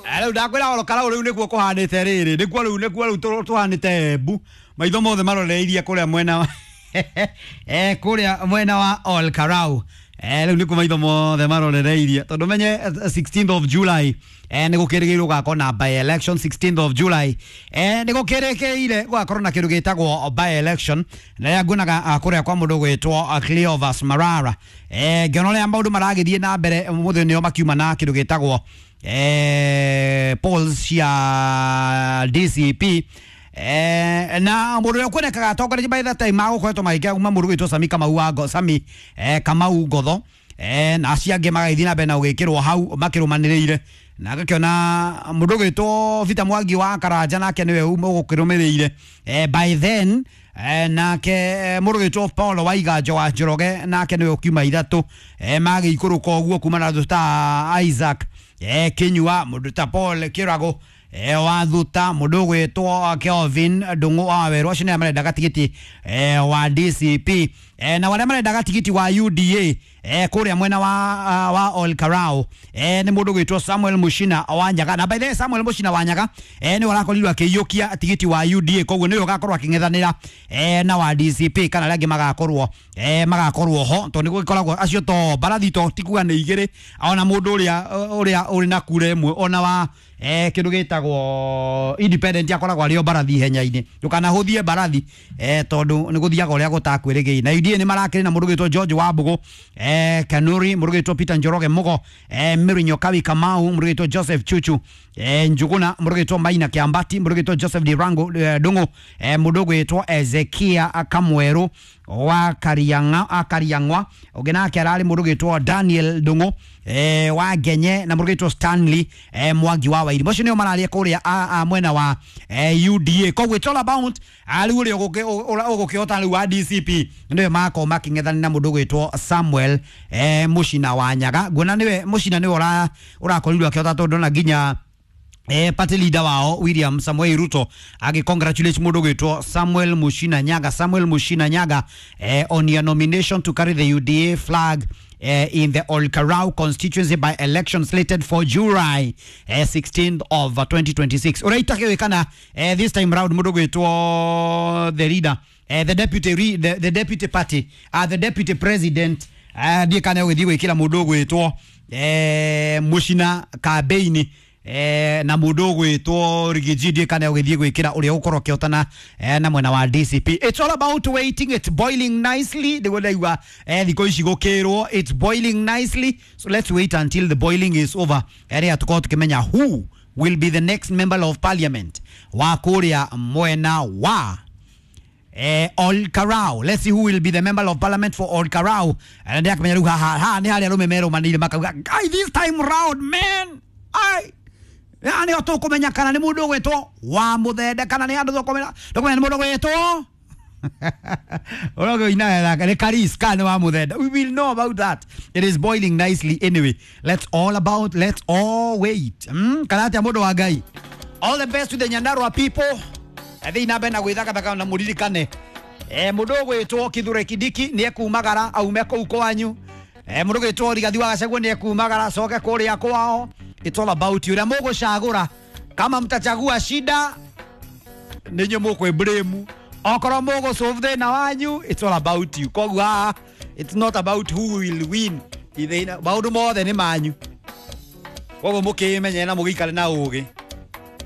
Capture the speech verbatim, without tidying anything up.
Rĩu ndakwĩra oro karau rĩu nĩkuo kũhanĩte rĩrĩ nĩkuo rĩu nĩkuo rĩu tũ- tũhanĩte Embu maitho mothe maroreirie kũrĩa mwena wa eh kũrĩa mwena wa Ol Karau. eh rĩu nĩkuo maitho mothe marorereirie tondũ menye eh, sixteenth of July eh nĩ gũkĩrĩgĩrĩirwo gũgakorwo na by election sixteenth of July. eh nĩ gũkĩrĩkĩire gũgakorwo na kĩndũ gĩtagwo by election na rĩrĩa nguonaga ah, kũrĩa kwa mũndũ gwĩtwo ah, Cleophas Malala, eh ngĩona ũrĩa maũndũ maragĩthiĩ na mbere mũthĩ nĩo makiuma na kĩndũ gĩtagwo eh, polls cia D C P. Eh, na mũndũ ũrĩa ũkuonekaga atongoretie by that time magũkoretwo magĩkĩra kuma mũndũ gwĩtwo Sami Kamau wa Ngo- Sami eh, Kamau Ngotho, eh, na acio angĩ magagĩthiĩ na mbere na gũgĩkĩrwo hau makĩrũmanĩrĩire na ngakĩona mũndũ ũgwĩtwo Peter Mwangi wa Karanja nake nĩwe ũgũkĩrũmĩrĩire eh, by then eh, nake eh, mũndũ ũgwĩtwo Paul Waiganjo wa Njoroge nake nĩwe ũkiuma ithatũ, eh, magĩikũrũka ũguo kuma na andũ ta Isaac eh, Kinyua, mũndũ ta Paul Kĩrago eh, wa Thuta, mũndũ ũgwĩtwo Kelvin Ndung'u wa Werũ, acio nĩo marendaga tigiti eh, wa D C P, eh, na arĩa marendaga tigiti wa U D A eh, kũrĩa mwena wa, uh, wa Ol Karau eh, nĩ mũndũ ũgwĩtwo Samuel Mushina wa Nyaga. Na by the way, Samuel Mushina wa Nyaga eh, nĩwe ũrakorirwo akĩiyũkia tigiti wa U D A, koguo nĩwe ũgakorwo akĩng'ethanĩra eh, na wa D C P kana arĩa angĩ magakorwo eh, magakorwo ho tondũ nĩ gũgĩkoragwo acio to mbarathi to ti kuga nĩ igĩrĩ ona mũndũ ũrĩa ũrĩa ũrĩ na kura ĩmwe ona wa eh, kĩndũ gĩtagwo independent akoragwo arĩ o mbarathi ihenya-inĩ. Ndũkanahũthie mbarathi eh, tondũ nĩ gũthiaga ũrĩa gũtakwĩrĩgĩire. Na U D A nĩ marakĩrĩ na mũndũ ũgwĩtwo George Wambũgũ eh, Kanuri, mũndũ ũgwĩtwo Peter Njoroge Mugo, eh, Mary Nyokabi Kamau, mũndũ ũgwĩtwo Joseph Chuchu eh, Njuguna, mũndũ ũgwĩtwo Maina Kĩambati, mũndũ ũgwĩtwo Joseph Dirango eh, Ndung'u, eh, mũndũ ũgwĩtwo Ezekia Kamweru wa Kariang'a Kariang'wa, ũngĩ nake ararĩ mũndũ ũgwĩtwo Daniel Ndung'u eh, wa Ngenye na mũndũ ũgwĩtwo Stanley eh, Mwangi wa Wairimu. Acio nĩo mararia kũrĩa a, a, mwena wa eh, U D A. Koguo it's all about rĩu ũrĩa ũgũkĩhota rĩu wa D C P nĩwe magakorwo makĩng'ethanĩra na mũndũ ũgwĩtwo Samuel eh, Mushina wa Nyaga. Nguona nĩwe Mushina nĩwe ũra- ũrakorirwo akĩhota tondũ ndona nginya eh, party leader wao William Samoei Ruto agi congratulate mũndũ ũgwĩtwo Samuel Mushina Nyaga, Samuel Mushina Nyaga, eh, on your nomination to carry the U D A flag eh, in the Olkarau constituency by election slated for July eh, sixteenth of uh, twenty twenty-six. Ũrĩa eh, this time round mũndũ ũgwĩtwo the leader, eh, the deputy re, the, the deputy party, uh, the deputy president, uh, ndiĩ kana ũgĩthiĩ gwĩkĩra mũndũ ũgwĩtwo eh, Mushina kambeini eh, na mũndũ ũgwĩtwo Rigiji ndiĩ kana ũgĩthiĩ gwĩkĩra ũrĩa ũgũkorwo ũkĩhotana eh, na mwena wa D C P. It's all about waiting. It's boiling nicely, nĩguo ndaigua eh, thikũ ici gũkĩrwo it's boiling nicely, so let's wait until the boiling is over ĩrĩa tũkorwo tũkĩmenya who will be the next member of parliament wa kũrĩa mwena wa eh, Ol Karau. Let's see who will be the member of parliament for Ol Karau. Na ndĩrakĩmenya rĩu haha haha nĩ harĩa arũme merũmanĩire makauga, "Guy, this time round, man, ai haha nĩho tũkũmenya kana nĩ mũndũ ũgwĩtwo wa mũthende kana nĩ andũ tũkũmenya tũkũmenya nĩ mũndũ ũgwĩtwo ũrĩa nĩ Karis kana nĩ wa mũthende." We will know about that. It is boiling nicely. Anyway, let's all about let's all wait. mm, kana atĩa mũndũ wa Ngai? All the best to the Nyandarua people. Thiĩ na mbere na gwĩthakathaka na mũririkane eh, mũndũ ũgwĩtwo Kithure Kindiki nĩ ekumagara aume kũu kwanyu, eh, mũndũ ũgwĩtwo Rigathi wa Gachagua nĩ ekumagara acoke kũrĩa kwao. It's all about you ũrĩa mũgũcagũra. Kama mtachagua shida, nĩ inyuĩ mũkwĩ blame. Okorwo mũgũ solve thĩna wanyu, it's all about you. Koguo haha it's not about who will win. Ithĩna maũndũ mothe nĩ manyu, koguo mũkĩmenye na mũgĩikare na ũgĩ.